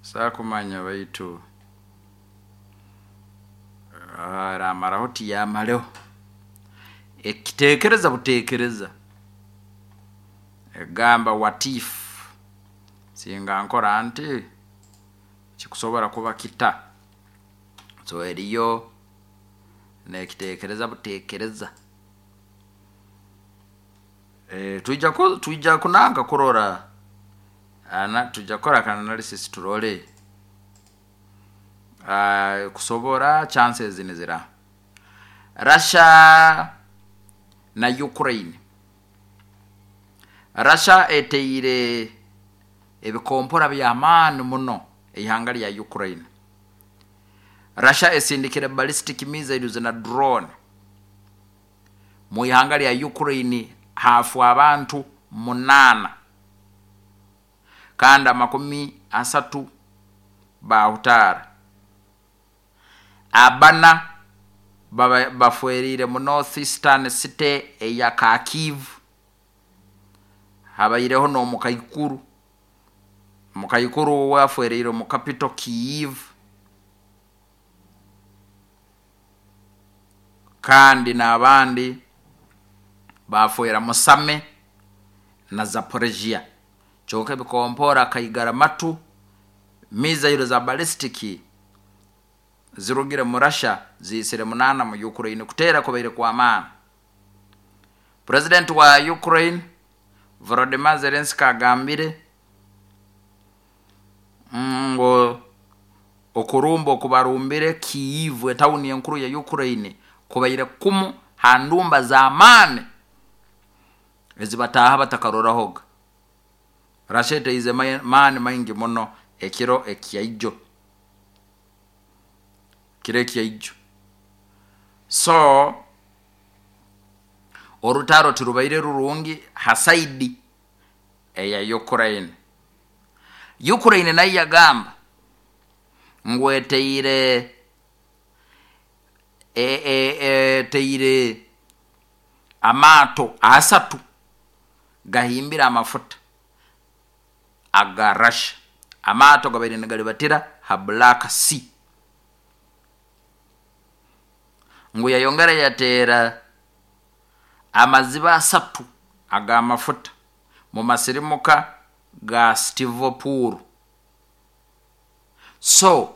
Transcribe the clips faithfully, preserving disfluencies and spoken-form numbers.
Saakumanya baitu eramaraho tiyamareho, ekiteekereza buteekereza, egamba what if singa nkora nti kikusobora kuba kita, so eriyo nekiteekereza buteekereza. E, twija ku, twija kunanka kurora ana tujja kukora aka analysis turole uh, kusobora chances nizira Russia na Ukraine. Russia eteire ebikompora by'amaani muno eihanga lya Ukraine. Russia esindikire ballistic missiles na drone mu ihanga lya Ukraine, hafu abantu munaana kandi amakumi asatu bahutaara, abana bafwerire mu north eastern city eya Kharkiv, habaireho n'omukaikuru mukaikuru wafwerire mu capital Kyiv, kandi n'abandi bafwera Musame na Zaporizhia. Kyonka ebikompora kaigara matu mizairo za ballistic zirugire mu Russia ziisire munana mu Ukraine, kuteera kubaire kwa maani. President wa Ukraine Volodymyr Zelensky agambire ngo okurumba okubarumbire Kyiv, etawuni enkuru ya Ukraine, kubaire kumu ha ndumba z'amaani ezibataaha batakarorahoga. Russia eteize maani maingi muno ekiro ekyaijo, kiro ekyaijo. So orutaro tirubaire rurungi ha saidi eya Ukraine. Ukraine nayo yagamba ngu eteire eteire amaato asatu gahimbire amafuta aga Russia. Amaato gabaire nigalibatira ha Black Sea. Ngu yayongera yateera amaziba asatu ag'amafuta mu masirimuka ga Stivopur. So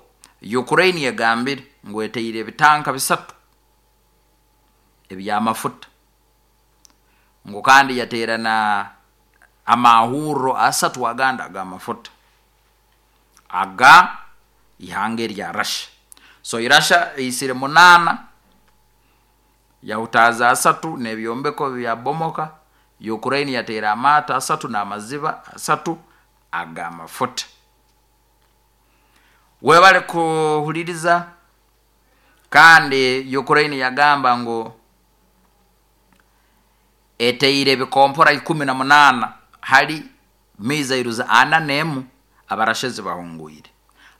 Ukraine yagambire ngu eteire ebitanka bisatu eby'amafuta, ngu kandi yateera na amahurro asatu agandi ag'amafuta aga ihanga erya Russia. So Russia eisire munaana yahutaaza asatu n'ebyombeko byabomoka. Ukraine yateera amaato asatu n'amaziba asatu ag'amafuta. Webale kuhuliriza. Kandi Ukraine yagamba ngu eteire ebikompora ikumi na munaana hali missiles ana n'emu abarasha ezibahungwire.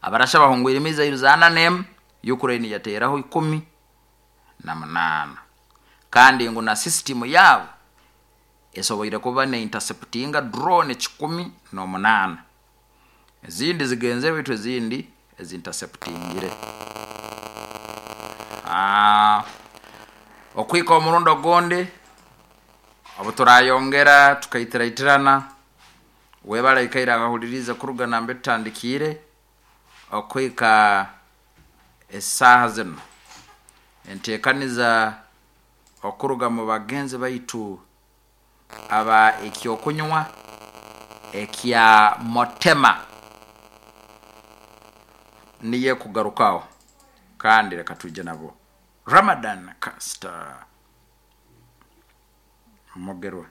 Abarasha bahungwire missiles ana n'emu, Ukraine yateeraho ikumi na munaana. Kandi ngu na system yaabo esoboire kuba ne interceptinga drone kikumi n'omunaana, ezindi zigenzere baitu ezindi ezinterceptingire. Ah, okwika omurundi ogundi obu turayongera tukaitiraitirana. Webale ikaire akahuliriza kuruga nambe tutandikiire okwika esaaha zino. Enteekaniza okuruga mu bagenzi baitu aba ekyokunywa ekya Motema niye kugarukaho, kandi reka tuje nabo. Ramadan Caster Mugerwa.